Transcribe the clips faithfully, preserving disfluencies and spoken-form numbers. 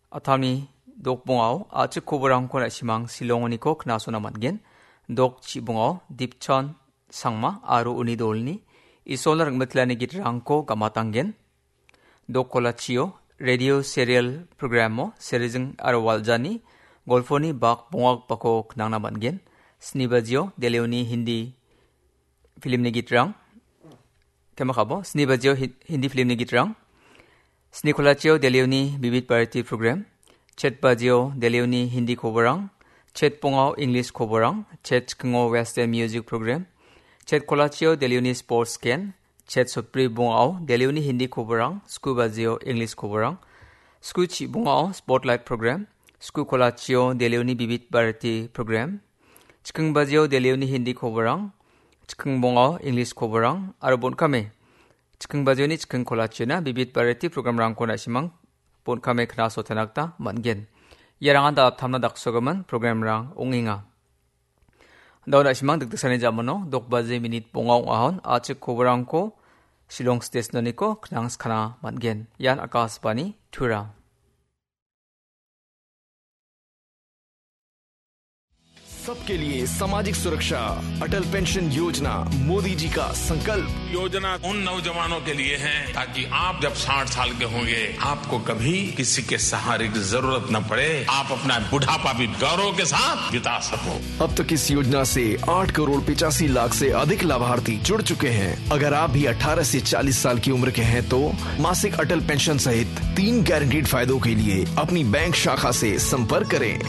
Atami dokbongao a·chik koborangko na·simang Shillongoniko knasona man·gen. Dok chibongao Dipchon Sangma aro uni dolni Isolna ringmitlani gitrangko gamatanggen. Dok kolachio radio serial programo Serijing aro Waljani golponi bak bongagipako knangna man·gen. Sni bajio Delhioni Hindi filmni gitrang. Kemakabo, sni bajio Hi-, Hindi filmni gitrang. Sni kolachio Delhioni Bibit Bharati program. Chet bajio Delhioni Hindi koborang. Chet bongao English koborang. Chet chikingo Western music program. Chet kolachio Delhioni sports ken. Chet sotbri bongao Delhioni Hindi koborang. Sku bajio English koborang. Sku chi bongao spotlight program. Sku kolachio Delhioni Bibit Bharati program. Chiking bajio Delhioni Hindi koborang. Chiking bongao English koborang. Aro bon·kame. Chiking bajioni chiking kolachiona Bibit Bharati programrangko na·simang bon·kame knasotena gita man·gen. Iarangan dalaptamna daksogimin programrang ong·enga. Dao na·simang dikdiksani jamano dok baji minit bonga ong·ahon a·chik koborangko Shillong Station-oniko knangskana man·gen. Ian Akashvani Tura. सबके लिए सामाजिक सुरक्षा, अटल पेंशन योजना, मोदी जी का संकल्प। योजना उन नौजवानों के लिए है, ताकि आप जब साठ साल के होंगे, आपको कभी किसी के सहारे की जरूरत न पड़े, आप अपना बुढ़ापा भी गौरव के साथ बिता सको। अब तक इस योजना से आठ करोड़ पचासी लाख से अधिक लाभार्थी जुड़ चुके हैं। अगर आप भी अठारह से चालीस साल की उम्र के हैं, तो मासिक अटल पेंशन सहित तीन गारंटीड फायदों के लिए अपनी बैंक शाखा से संपर्क करें।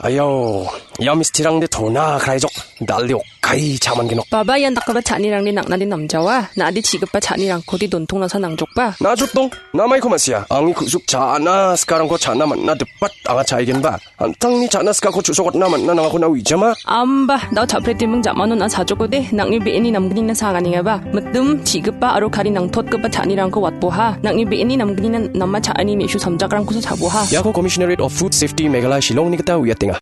Ayo, ia mistirangde tona kraijok, dalde okkai chaman genok. Baba, ian dakgipa cha·anirangde nang·nade namjawa, na·ade chi·gipa cha·nirangkode dontong nasa nangjokba? Najotdong, namaiko ma·sia, angni ku·suk cha·na sikarangko cha·na man·na dipat anga cha·aigenba. An·tangni cha·na sikako chu·sokatna man·na nangako na uijama? Amba, dao cha·pretiming ja·mano na·a chajokode, nang·ni be·eni namgnina saganengaba. Mitim, chi·gipa aro kari nangtotgipa cha·anirangko watboha. Nang·ni be·eni namgnina nama cha·ani me·su samjakrangkosa chaboha. Iako Commissionerate of Food Safety Meghalaya Shillongni gita uiatenga.